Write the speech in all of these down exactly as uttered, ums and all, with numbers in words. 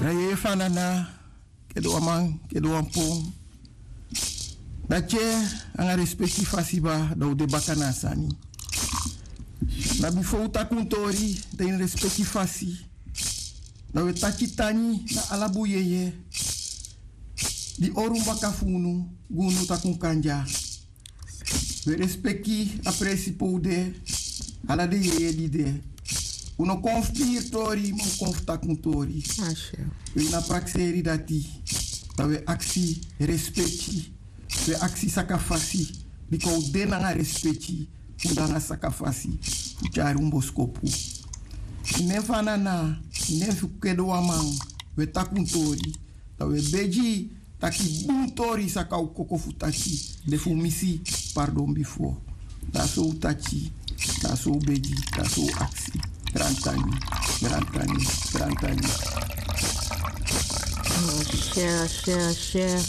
A yeye fu a nana, kede wan man, kede wan pon. Dati e, nanga respeki fasi baka, dan un de baka na a sani. Na bifo un taki un tori, dan ini respeki fasi, dan un e taki tangi na ala bun yeye di hori un baka fu unu, gi unu taki un kan dya. Un e respeki a presi pe un de, ala den yeye di de. Un no kon fu piri tori, ma un kon fu taki un tori. Un ini a prakseri dati, dan un e aksi respeki, un e aksi sakafasi, bika un de nanga respeki, un de nanga sakafasi fu tyari un boskopu. Ini nen fu a nana, ini nen fu kede wan man, un e taki un tori, dan un e begi taki bun tori saka un koko fu taki, de fu misi pardon bifo. Dan so un taki, dan so un begi, dan so un aksi. Grantangi, grantangi, grantangi. Ashe, ashe, ashe.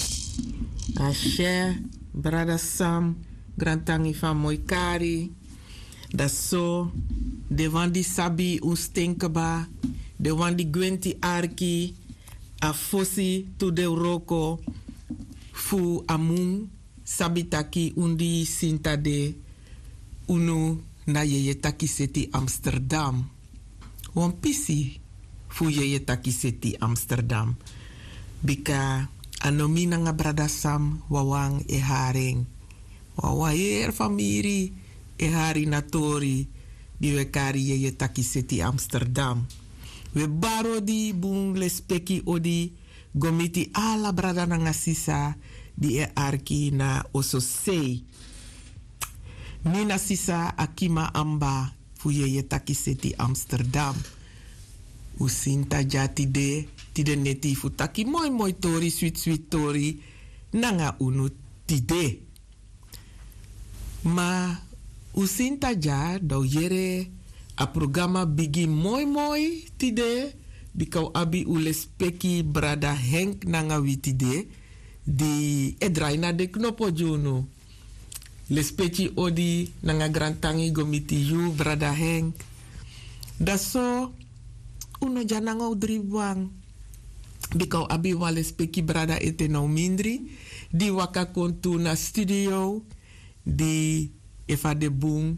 Ashe, brada Sam, grantangi fu a moi kari. Dan so, den wan di sabi un sten kba, den wan di gwenti arki, a fosi tu den wroko fu a mun, sabi taki un di sinta de, unu na yeye taki seti Amsterdam. Wan pisi fu yeye taki seti Amsterdam. Bika a no mi nanga brada Sam wawan e hari en. Wawan heri famiri e hari na tori di un e kari yeye taki seti Amsterdam. Un e bari odi bun lespeki odi go miti ala brada nanga sisa di e arki na ososei. Mi na sisa Akima Amba fu yeye taki seti Amsterdam. Un sinta dya tide, tide neti fu taki moi moi tori, switi switi tori nanga unu tide. Ma un sinta dya, dan un yere a programa bigin moi moi tide, bika un abi un lespeki brada Henk nanga wi tide, di e drai na den knopo gi unu. Lespeki odi nanga grantangi go miti yu, brada Henk. Dan so, un no dya nanga un dribi wan. Bika un abi wan lespeki brada ete na un mindri, di waka kon tu na studio, di efu a de bun,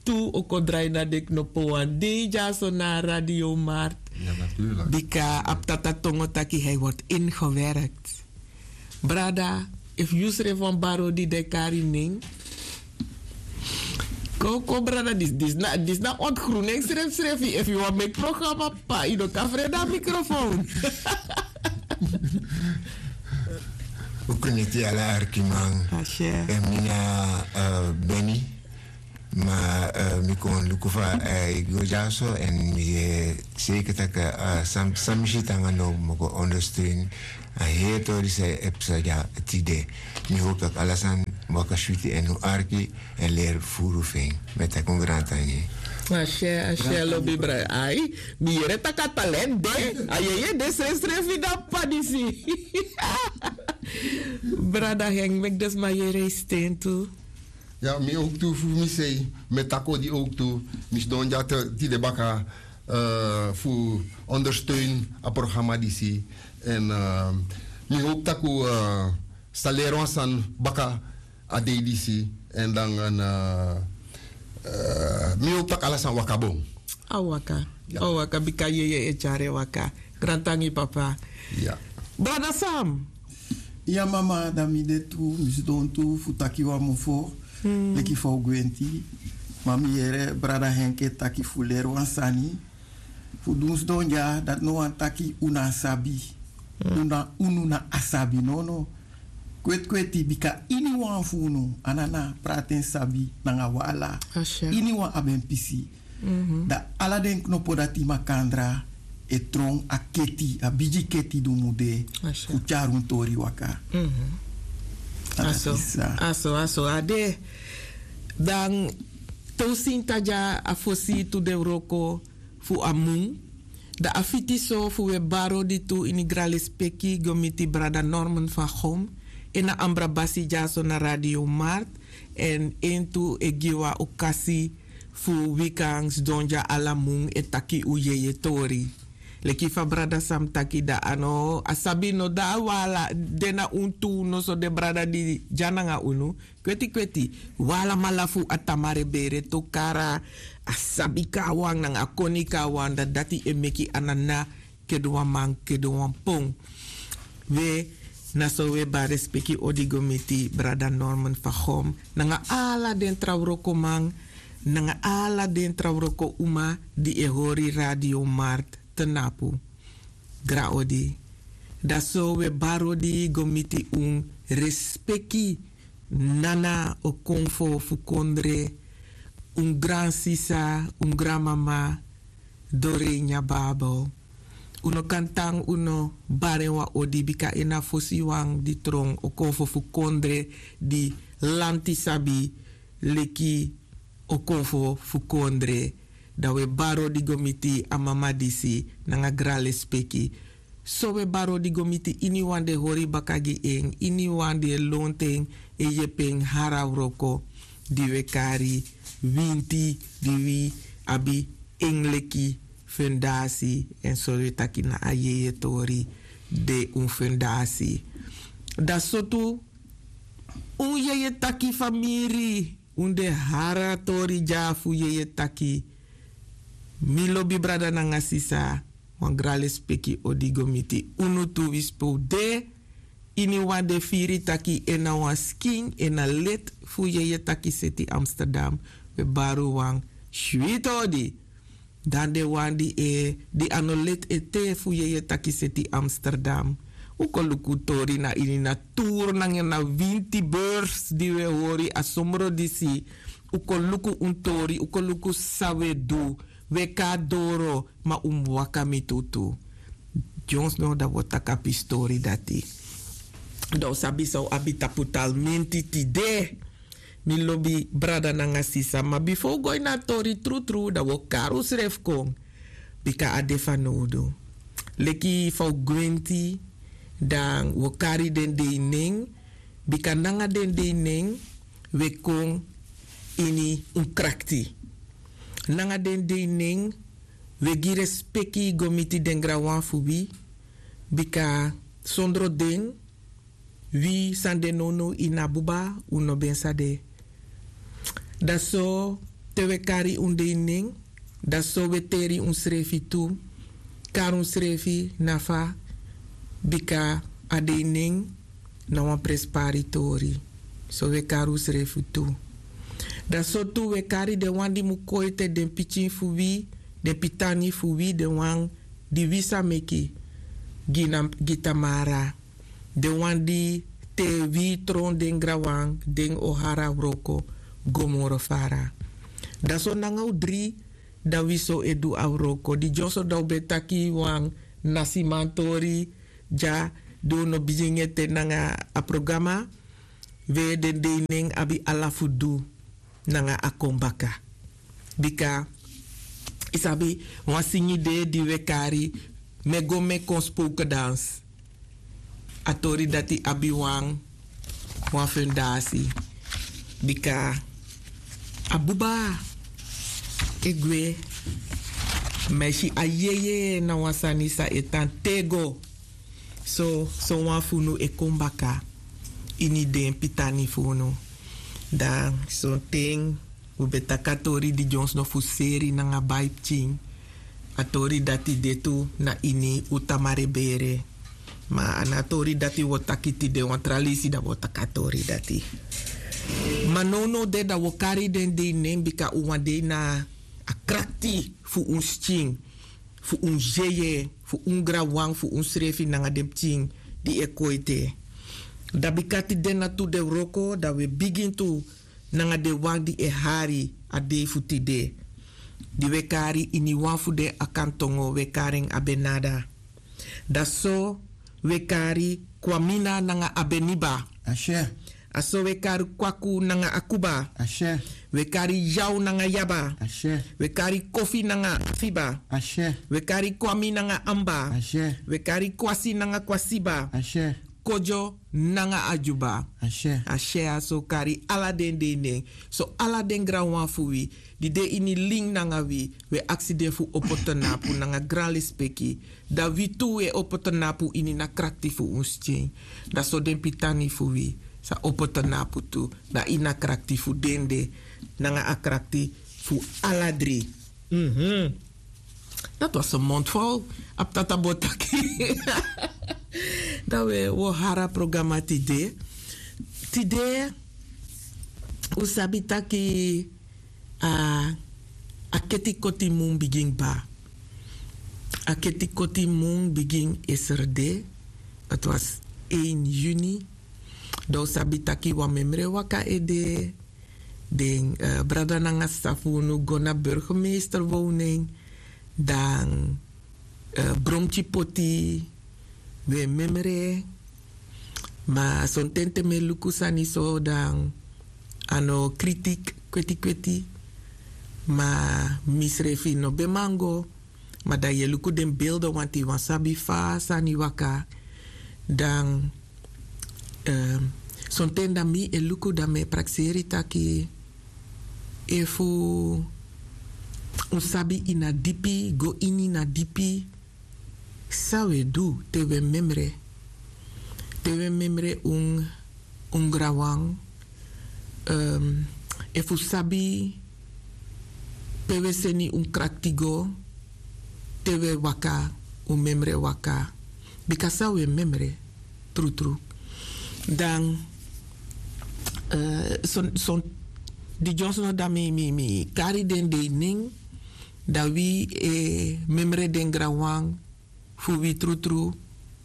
tu un kon drai na den knopo wan dei dyaso na Radio Markt. Bika a p'tata tongo taki hij wordt ingewerkt. Brada, efu yu srefi wani bari odi, dan e kari nen. Kon, kon brada, disi, disi na, disi na ontgroening srefsrefi. Efu yu wani meki programa, p'pa, yu no kan frede a microfoon. Un kreniti ala arkiman. Ashe. En mi na, eh, Benny. Ma, eh, mi kon luku fa, eh, a e go dyaso, en mi e seiker taki, eh, san, san mi si tanga now mi o kon ondersteun a heri tori san e psa dya tide. Mi hopu taki ala sani waka switi en un arki, en leri furu fu en. Mi e taki un grantangi. Ashe, ashe, lobi brada. Ai, mi yere taki a talent de. A yeye de srefsrefi na p'pa disi. Brada Henk, meki den sma yere yu sten tu. Ya, mi ook tu fu mi sei, mi e taki odi ook tu. Mi sidon dya te, tide baka, eh, fu ondersteun a programa disi. En, eh, mi hopu taki un, eh, sa leri wan sani baka a dei disi. En dan, eh, eh, mi hopu taki ala sani waka bun. A waka. Ya. A waka, bika yeye e tyari en waka. Grantangi, papa. Ya. Brada Sam. Ya, mama, dan mi de tu, mi sidon tu fu taki wan mofo, leki fa un gwenti. Ma mi yere brada Henk e taki fu leri wan sani. Fu di un sidon dya, dati no wani taki un na a sabi. Un na, unu na a sabi, nono. Kweti kweti, bika iniwan fu unu, a nana, prati en sabi nanga wan ala. Ashe. Iniwan abi en pisi. Dan ala den knopo dati makandra e tron a keti, a bigi keti di un mu de, fu tyari un tori waka. Aso, aso, aso a de. Dan te un sinta dya a fosi tu den wroko fu a mun, dan a fiti so fu un e bari odi tu ini granlespeki go miti brada Norman van Gom, en na Ambrabasi dyaso na Radio Markt, en en tu e gi wan okasi fu wi kan sidon dya ala mun e taki un yeye tori. Leki fa brada san mi taki, dan a no a sabi no, dan a wala de na unu tu. No so den brada di dya nanga unu, kweti kweti, wi alamala fu a tamare bere tokara, a sabi kon na wan nanga a koni kon na wan, dan dati e meki a na na kede wan man, kede wan pon. We, na so wi e bari respeki odi go miti brada Norman Fagom nanga ala den tra wrokoman, nanga ala den tra wroko uma di e hori Radio Mart te napu. Gra odi. Da so wi e bari odi go miti un respeki nana Okonfo fu Kondre, un gransisa, un granmama, Dorenia Babel. Un no kan tan un no bari en wan odi, bika en na a fosi wan di tron Okonfo fu Kondre, di lanti sabi leki Okonfo fu Kondre. Da wi e bari odi go miti a mama disi nanga gran lespeki. So wi e bari odi go miti iniwan di e hori baka gi en, iniwan di e lontu en, e yepi en hari a wroko di wi e kari winti, di wi abi en leki fundasi. Èn so wi e taki na a jeje tori de un fundasi. Da so tu un jeje taki famiri, un de hari a tori dya fu jeje taki. Mi lobi brada nanga sisa, wan gran lespeki odi go miti unu tu, wi spe un de. Iniwan di e firi taki en na wan skin, en na lid fu jeje taki seti Amsterdam, wi e bari un wan switi odi. Dan den wan di e, di a no lid ete fu jeje taki seti Amsterdam, un kon luku un tori na ini naturu nanga na winti beurs di wi e hori a somro disi. Un kon luku un tori, un kon luku san wi e du. Wi e kon na doro, ma un mus waka miti un tu. Dyonsno da wi o taki a pisi tori dati. Da un sabi san un abi tapu talmenti tide. Mi lobi brada nanga sisa, ma bifo un go ini a tori trutru, da wi o kari unsrefi kon. Bika a de fanowdu. Leki fa un gwenti, dan wi o kari den dei nen, bika nanga den dei nen wi e kon ini un krakti. Nanga den dei nen wi e gi respeki go miti den granwan fu wi, bika sondro den, wi san de nownow ini a buba, un no ben sa de. Da so te wi e kari un dei nen, da so wi e teri unsrefi tu, kari unsrefi na fa, bika a dei nen na wan prenspari tori. So wi e kari unsrefi tu. Da so tu wi e kari den wan di mu kon ete, den pikin fu wi, den pitani fu wi, den wan di wi sa meki gi na, gi Tamara. Den wan di te wi tron den granwan, den o hari a wroko go moro fara. Da so nanga un dri, da wi so e du a wroko. Di dyonso da un ben taki wan nasimantori dya, di un no bigin ete nanga a programa, we den dei nen abi ala fu du nanga a kon baka. Bika, yu sabi, wan singi de di wi e kari, mi e go mi e kon spoken dans. A tori dati abi wan, wan fundasi. Bika, a buba e gwe, ma yu si a jeje na wan sani san e tan te go. So, sowan fu unu e kon baka ini den pitani fu unu. Da sonten un ben taki a tori di dyonsno fu seri nanga bai pikin. A tori dati de tu na ini un Tamara bere. Ma a no a tori dati wi o taki tide, wan tra leisi da wi o taki a tori dati. Ma nownow de da wi o kari den dei nen bika un wan dei na a krakti fu un skin, fu un jeje, fu un granwan, fu unsrefi nanga den pikin di e kon ete. Da bika tide na tu dei wroko, da wi e bigin tu nanga den wan di e hari a dei fu tide. Di wi e kari ini wan fu den Akantongo, wi e kari en Abenada. Da so wi e kari Kwamina nanga Abeniba. A so wi e kari Kwaku nanga Akuba. A so wi e kari Yaw nanga Yaba. A so wi e kari Kofi nanga Afiba. A so wi e kari Kwami nanga Amba. A so wi e kari Kwasi nanga Kwasiba. A so kodyo nanga a dyuba. A syai a so kari ala den dei nen. So ala den granwan fu wi di de ini lin nanga wi, wi e aksi den fu opo tnapu nanga gran lespeki. Dan wi tu wi e opo tnapu ini na krakti fu un skin. Dan so den pitani fu wi sa opo tnapu tu, dan ini a krakti fu den de nanga a krakti fu ala dri. Dati was en mondvol. Abi tata bo taki. Dan wi o hari a programa tide. Tide un sabi taki a keti koti mun bigin kba. A keti koti mun bigin eserde. Dati was ein yuni. Dan un sabi taki wan memre waka ede. Den brada nanga sisa fu unu go na burgemeester woning. Dan bromtyi poti wi e memre. Ma sonten te mi e luku sani so dan a no kritik kweti kweti. Ma misrefi no ben man go. Ma dan yu e luku den belden wanti wan sabi fa sani waka. Dan sonten dan mi e luku dan mi e prakseri taki efu un sabi ini a dipi go ini na dipi. San un e du te un e memre? Te un e memre un un granwan efu un sabi pe un e seni un krakti go te un e waka un memre waka. Bika san un e memre trutru dan son di dyonsno dan mi kari den dei nen dan wi e memre den granwan fu wi trutru.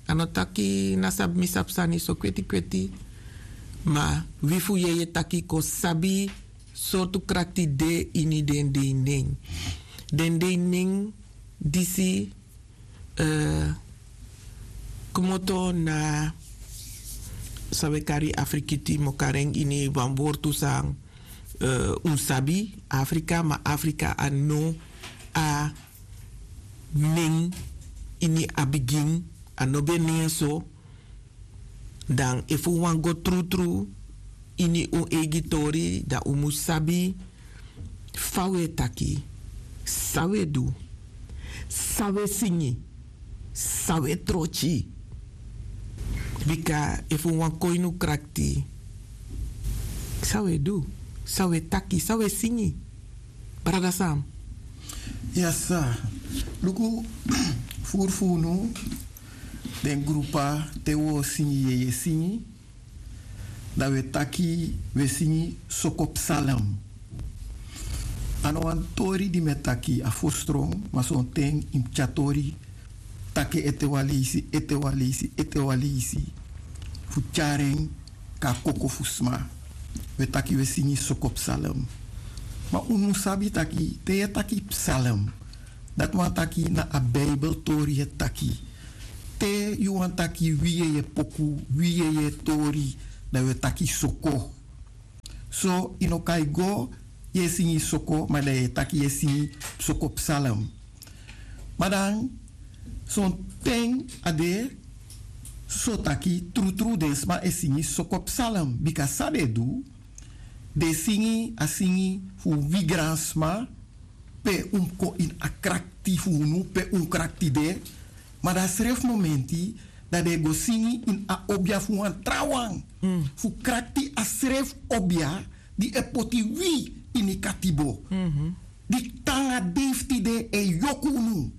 A no taki na sabi mi sabi sani so kweti kweti ma wi fu yeye taki kon sabi sortu krakti de ini den dei nen. Den dei nen disi kmoto na san wi e kari afrikiti mi o kari en ini wan wortu san un sabi afrika ma afrika a no a nen ini a bigin a no ben nen so. Dan efu un wani go trutru ini un eigi tori dan un mus sabi fa un e taki, san un e du, san un e singi, san un e trotyi. Bika efu un wani kon ini un krakti san un e du, san un e taki, san un e singi? Brada sam. Ya sa, luku furu fu unu den grupa te un o singi yeye singi. Dan un e taki un e singi soko psalem. A no wan tori di mi e taki a furu strong ma sonten yu mus tyari tori taki ete wan leisi ete wan leisi ete wan leisi fu tyari en kon na koko fu sma. Un e taki un e singi soko psalem. Ma unu sabi taki te yu e taki psalem dati wani taki na a bibel tori yu e taki. Te yu wani taki wi yeye poku wi yeye tori dan yu e taki soko. So yu no kan e go yu e singi soko ma dan yu e taki yu e singi soko psalem. Ma dan sonten a de so taki trutru den sma e singi soko psalem bika san den e du den e singi a singi fu wi gransma pe un mus kon ini a krakti fu unu pe un krakti de. Ma dan a srefi momenti dan den e go singi ini a obia fu wan trawan fu krakti a srefi obia di e poti wi ini katibo di tan a dei fu tide e yoku unu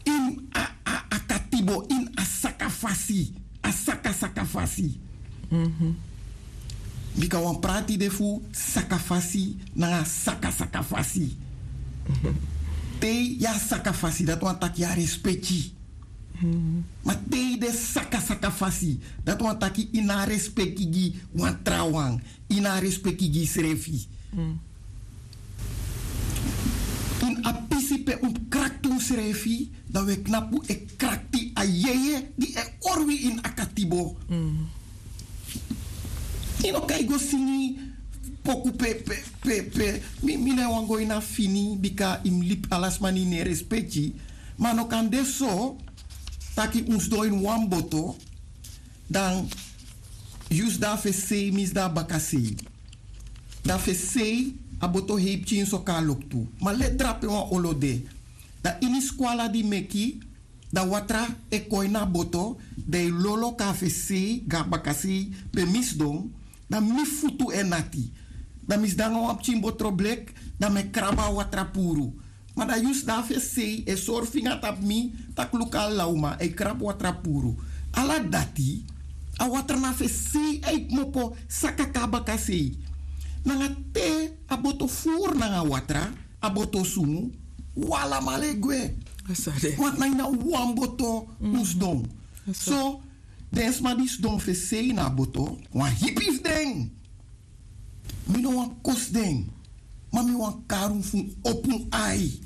ini a katibo ini a saka fasi a saka saka fasi. Bika wan prati de fu saka fasi nanga saka saka fasi. Te yu a saka fasi dati wani taki yu a respeki. Ma te yu de saka saka fasi dati wani taki yu no a respeki gi wan trawan. Yu no a respeki gi yusrefi. Ini a pisi pe un mus krakti unsrefi dan un e knapu e krakti a yeye di e hori wi ini a katibo. Yu no kan e go singi poku pe pe pe mi no e wani go ini a fini bika yu mus libi ala sma na ini en respeki. Ma a no kan de so taki un sidon ini wan boto Dan yu sidon a fesei mi sidon a bakasei. Dan fesei a boto hei pikin so kon na loktu. Ma leti drape wan olo de. Dan ini skwala di meki, dan watra e kon ini a boto, dan e lolo kon na fesei go na bakasei pe mi sidon. Dan mi futu e nati. Dan mi sidon nanga wan pikin botro bleki, dan mi e krabu a watra puru. Ma dan yu sidon na fesei e sori finga tapu mi, tak' luku ala uman e krabu watra puru. Ala dati, a watra na fesei e kmopo saka kon na bakasei. Nanga te a boto furu nanga watra, a boto sungu, un alamala e gwe. Want na ini a wan boto un sidon. So den sma di sidon fesei na a boto, wan hipi fu den. Mi no wani kosi den, ma mi wani kari un fu un opo un ai.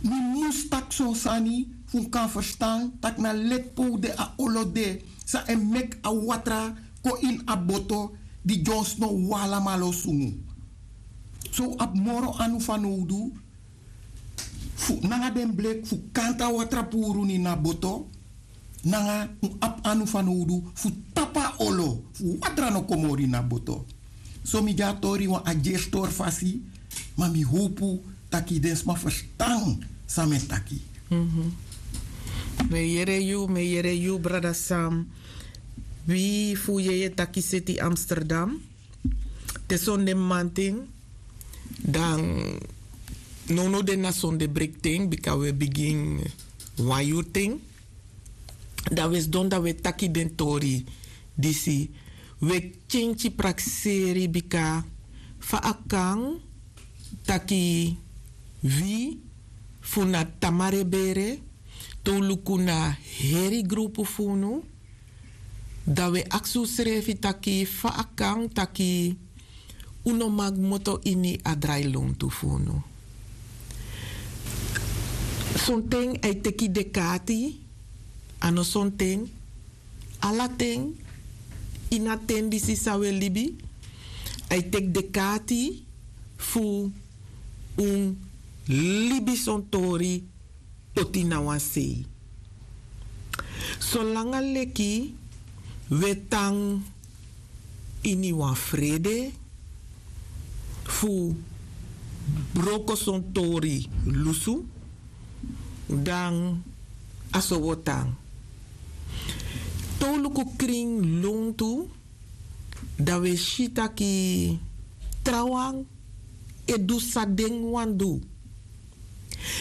Mi mus taki son sani fu un kan ferstan tak' na leti pe un de, a olo de san e meki a watra kon ini a boto, di dyonsno un alamala o sungu. So un abi moro anu fanowdu fu nanga den bleki fu kanti a watra puru ini a boto. Nanga un abi anu fanowdu fu tapu a olo fu watra no kon moro ini a boto. So mi gi a tori wan adyeri tori fasi, ma mi howpu tak' den sma ferstan san mi e taki. Mi e yere yu mi e yere yu brada sam. Wi fu yeye taki seti amsterdam. Te sonde mamanten, dan nownow de na sonde brekten bika wi e bigin wan yurten. Dan wi e sidon dan wi e taki den tori disi. Wi e kenki prakseri bika fa a kan taki wi fu na tamarebere te un luku na heri grupu fu unu. Dan wi e aksi unsrefi taki fa a kan taki un no man kmoto ini a drailontu fu unu. Sonten a e teki dek'ati. A no sonten, ala ten, ini a ten disi san wi e libi, a e teki dek'ati fu un libi son tori poti na wan sei. Solanga leki wi e tan ini wan frede fu broko son tori lusu, dan a so wi o tan. Te un luku krin lontu, dan wi e si taki trawan e du san den wani du.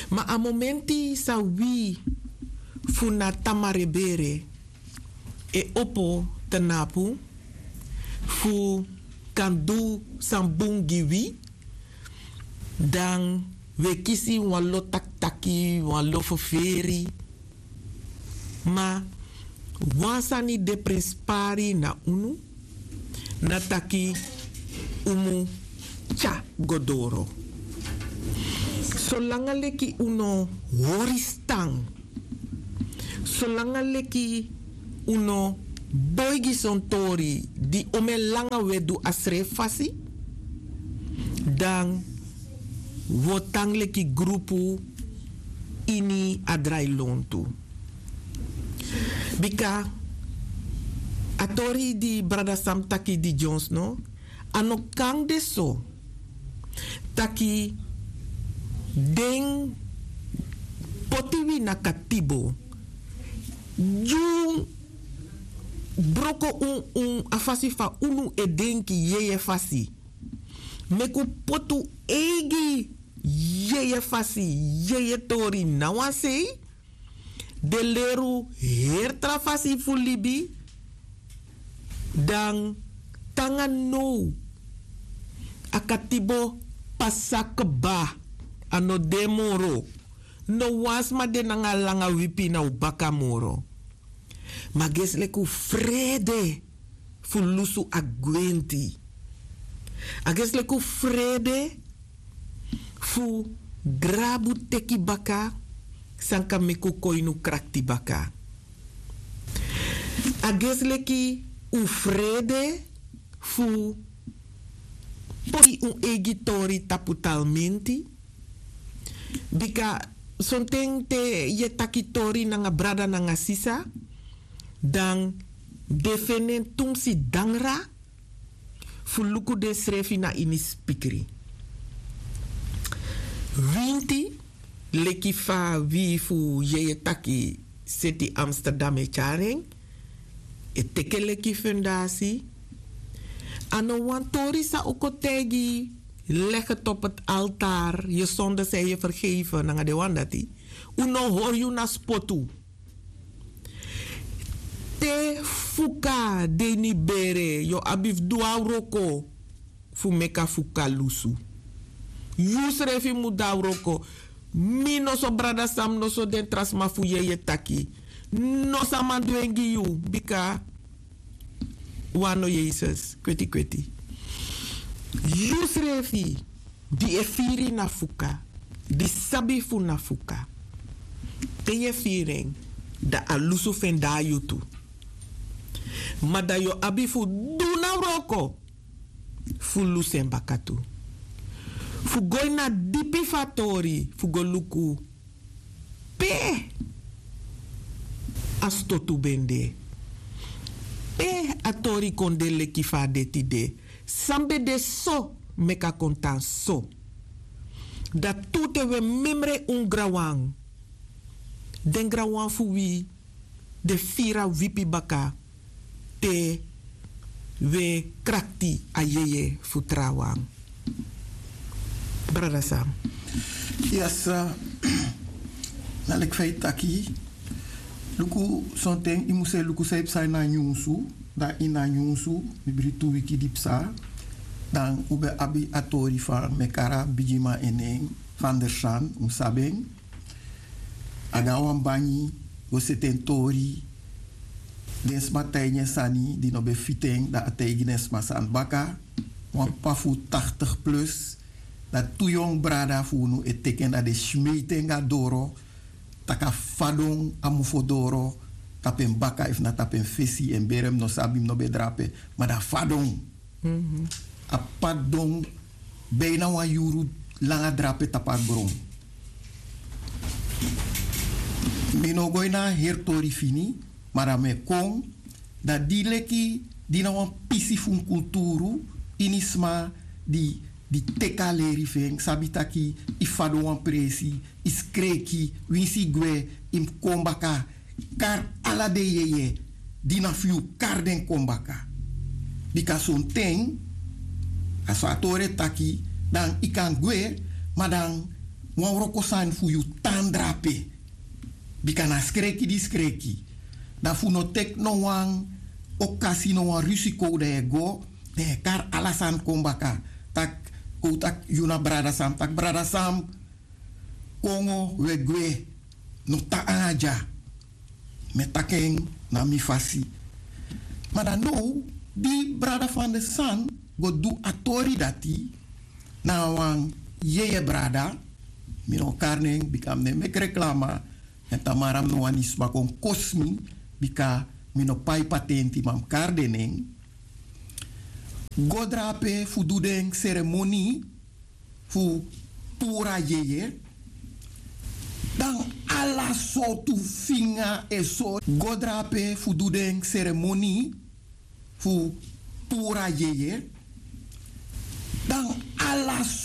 Ma a momenti san wi fu na tamarebere e opo tnapu fu kan du san bun gi wi, dan wi e kisi wan lo takitaki, wan lo ferferi. Ma wan sani de prenspari na unu, na taki un mu tyari go doro. Solanga leki un no hori stan, solanga leki un no boigi son tori di omen langa un e du a srefi fasi, dan wi o tan leki grupu ini a drailontu. Bika a tori di brada sam taki di dyonsno, a no kan de so taki den poti wi na katibo, gi un broko un, un a fasi fa unu e denki, yeye fasi. Meki un poti un eigi yeye fasi, yeye tori na wan sei, den leri un heri tra fasi fu libi, dan te nanga now a katibo pasa kba, a no de moro. No wan sma de nanga a langa wipi na un baka moro. Ma a gesi leki un frede fu lusu a gwenti. A gesi leki un frede fu grabu teki baka san kan meki un kon ini un krakti baka. A gesi leki un frede fu poti un eigi tori tapu talmenti. Bika sonten te yu e taki tori nanga brada nanga sisa, Dan den feni en tumsi dangra fu luku densrefi na ini spikri. Winti, leki fa wi fu yeye taki seti Amsterdam e tyari en, e teke leki fundasi. A no wan tori san o kon taigi yu, legi topu altar, yu sonde san yu e fergeifi nanga den wan dati. Un no hori yu na spotu. Te fuka de ini bere, yu o abi fu du a wroko fu meki a fuka lusu. Yusrefi mu du a wroko. Mi noso, brada Sam, noso den tra sma fu yeye taki, no sama du en gi yu, bika wan no Yesus kweti kweti. Yusrefi di e firi na fuka, di sabi fu na fuka, te yu e firi en, dan a lusu fu en de na yu tu. Ma dan yu o abi fu du na wroko fu lusu en baka tu. Fu go ini a dipi fu a tori fu go luku pe a stotu ben de. Pe a tori kon de leki fa a de tide. San ben de so meki a kon tan so. Dati tu te wi e memre un granwan. Den granwan fu wi den firi a wipi baka te wi e krakti a yeye fu trawan. Brada Sam. Yes, na leki fa yu taki. Luku, sonten yu mus e luku san yu psa ini a nyunsu. Dan ini a nyunsu, mi bri tu wiki di psa. Dan un ben abi a tori fu a mekara bigiman, en nen Van der San, un sabi en. A go na wan bangi go seti en tori. Den sma taigi en sani di no ben fiti en, dan a taigi den sma sani baka. Wan p'pa fu tachtig plus. Dan tu yongu brada fu unu e teki en, dan den smeiti en go na doro. Tak' a fadon a mofo doro tapu en baka efu na tapu en fesi, en bere mi no sabi, mi no ben drape. Ma dan a fadon. A p'pa don bina wan yuru langa drape tapu a gron. Mi no go ini a heri tori fini, ma dan mi e kon, dan di leki di na wan pisi fu un kulturu, ini sma di, di teki a leri fu en, sabi taki yu fadon wan presi, yu skreki, winsi yu gwe, yu mus kon baka, kari ala den yeye di na fu yu, kari den kon baka. Bika sonten, a so a tori e taki, dan yu kan gwe, ma dan wan wroko sani fu yu tan drape. Bika na skreki di skreki. Dan fu no teki no wan okasi, no wan risiko, dan yu e go, dan yu e kari ala sani kon baka. Tak' kon un taki yu na brada Sam, tak' brada Sam, kongo, wi e gwe, no tan nanga dya. Mi e taki en na mi fasi. Ma dan now, di brada Van der San go du a tori dati, na wan yeye brada, mi no o kari nen, bika mi no e meki reklama, èn tamara mi no wani sma kon kosi mi, bika mi no pai patenti, ma mi kari den nen. Go drape fu du den seremoni fu puru a yeye. Dan ala sortu finga e sori. Go drape fu du den seremoni fu puru a yeye. Dan ala